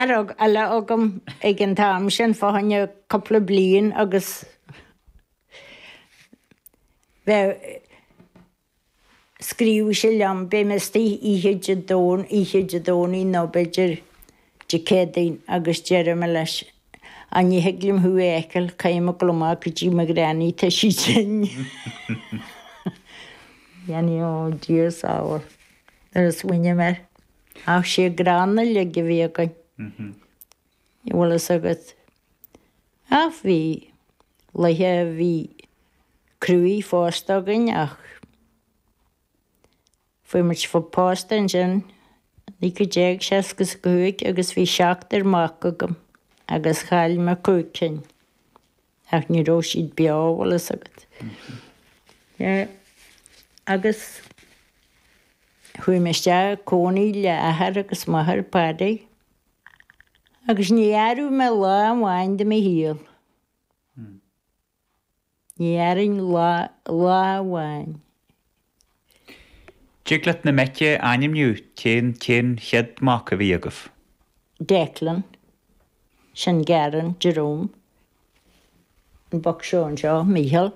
Eile agam ag an t-am sin, fá choinne cúpla bliain agus bheadh, scríobhadh sé liom, beidh mé istigh oíche Dé Domhnaigh, oíche Dé Domhnaigh nó b'fhéidir Dé Céadaoin agus deireadh mé leis, á ní thig liom thú a fheiceáil, caithfidh mé dul amach go dtí mo ghranny, tá sí tinn. Dhéanfaí, ó Dia sábháil, nuair a smaoiním air. Ach sé gránna uilig a bhí againn. Bhfuil fhios agat. Ach bhí laethe a bhí cruaidh fosta againn ach fuair muid pósta ansin 1965 agus bhí seachtar mac agam agus chaill mé cúig cinn. Ach ní raibh siad beo, bhfuil fhios agat. Yeah. Agus chuaigh mé isteach ag cónaí le athair agus máthair Paddy agus ní airigh mé lá amháin de mo shaol. Ní airinn lá, lá amháin. Dtig leat na mic a ainmniú, cén, cén chéad mac a bhí agaibh? Declan, sin Garron, Jerome, an boc seo anseo, Mícheál,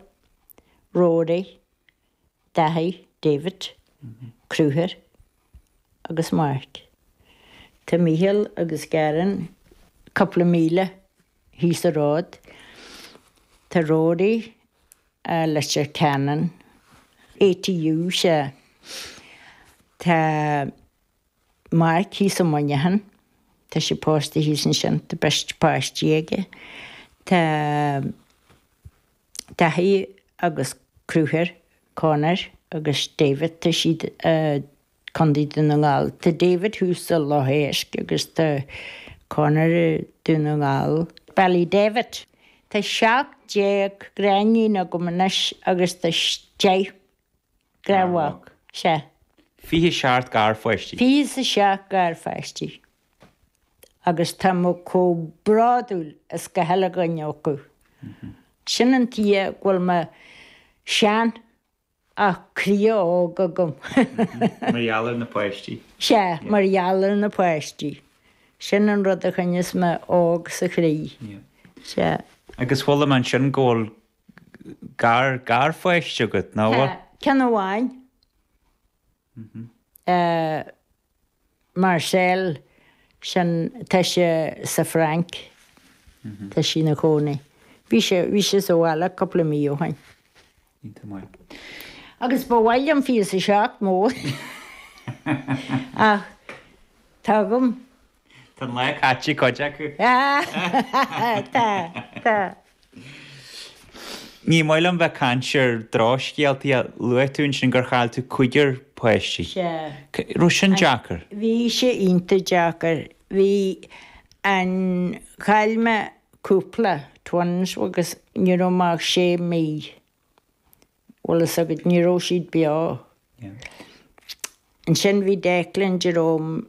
Rory, Daithí, David, Conchúr agus Mark. Tá Mícheál agus Garron cúpla míle thíos an ród. Tá Rory i Leitir Ceanainn, ATU, sea. Tá Mark thíos i Muineachán, tá sé pósta thíos ansin, tá beirt páistí aige. Tá Daithí agus Conchúr, Conor agus David, tá siad i Contae Dún na nGall. Tá David thuas i Loch Éisc agus tá Conor i Dún na nGall. Ballydavid. Tá 17 gariníon agam anois agus tá 10 garmhac. Sea. 27 garpháistí. 27 garpháistí. Agus tá mé chomh bródúil as gach uile dhuine acu. Sin an tuige go bhfuil mé sean Ach croí óg agam. Mar gheall ar na páistí. Sea, mar gheall ar na páistí. Sin an rud a choinneos mé óg sa chroí. Sea. Agus chuala mé ansin go bhfuil gar, garpháiste agat, nach bhfuil? Tá, ceann amháin. Marcel, sin, tá sé sa Fhrainc, tá sé ina chónaí. Bhí sé, bhí sé sa bhaile cúpla mí ó shin. Iontach maith. Agus ba mhaith liom 27 mór ach tá agam. Tá an lá caite ag cuid acu. Tá, tá. Ní maith liom bheith ag caint ar drochscéaltaí ach luaigh tú ansin gur chaill tú cúigear páistí. Sea. Raibh sin deacair? Bhí sé iontach deacair. Bhí an, chaill mé cúpla twins agus ní raibh mé ach sé mí. Bhfuil fhios agat, ní raibh siad beo. Ansin bhí Declan, Jerome,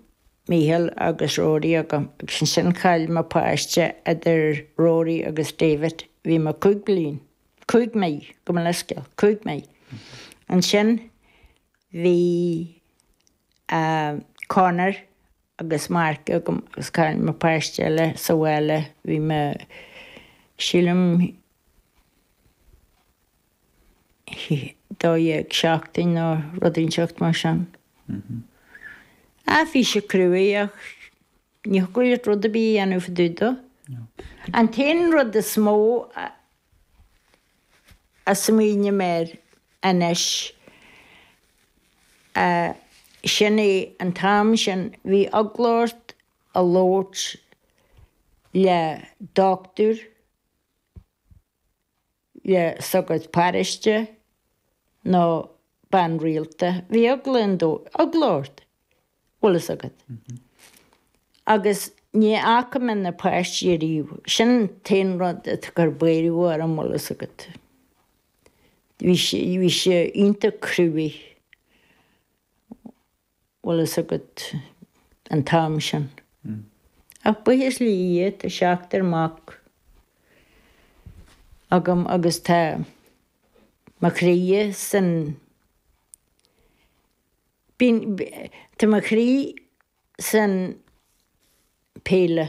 Mícheál agus Rory agam agus ansin chaill mé páiste idir Rory agus David, bhí mé cúig bliain, cúig mí, gabh mo leithscéal, cúig mí. Ansin bhí Conor agus Mark agam agus chaill mé páiste eile sa bhaile, bhí mé, sílim, 12 seachtain nó rud inteacht mar sin. Ah, bhí sé cruaidh ach ní thiocfadh leat rud ar bith a dhéanamh fá dtaobh dó. An t-aon rud is mó a smaoiním air anois, sin é an t-am sin, bhí eagla ort a labhairt le dochtúir, le sagart paróiste nó bean rialta. Bhí eagla an dó, eagla ort, bhfuil fhios agat. Agus ní fhaca mé na páistí ariamh. Sin an t-aon rud atá ag cur buaireamh orm, bhfuil fhios agat. Bhí sé, bhí sé iontach cruaidh. Bhfuil fhios agat an t-am sin. Ach buíochas le Dia tá seachtar mac agam agus tá mo chroí san, bíonn, tá mo chroí san. Peile.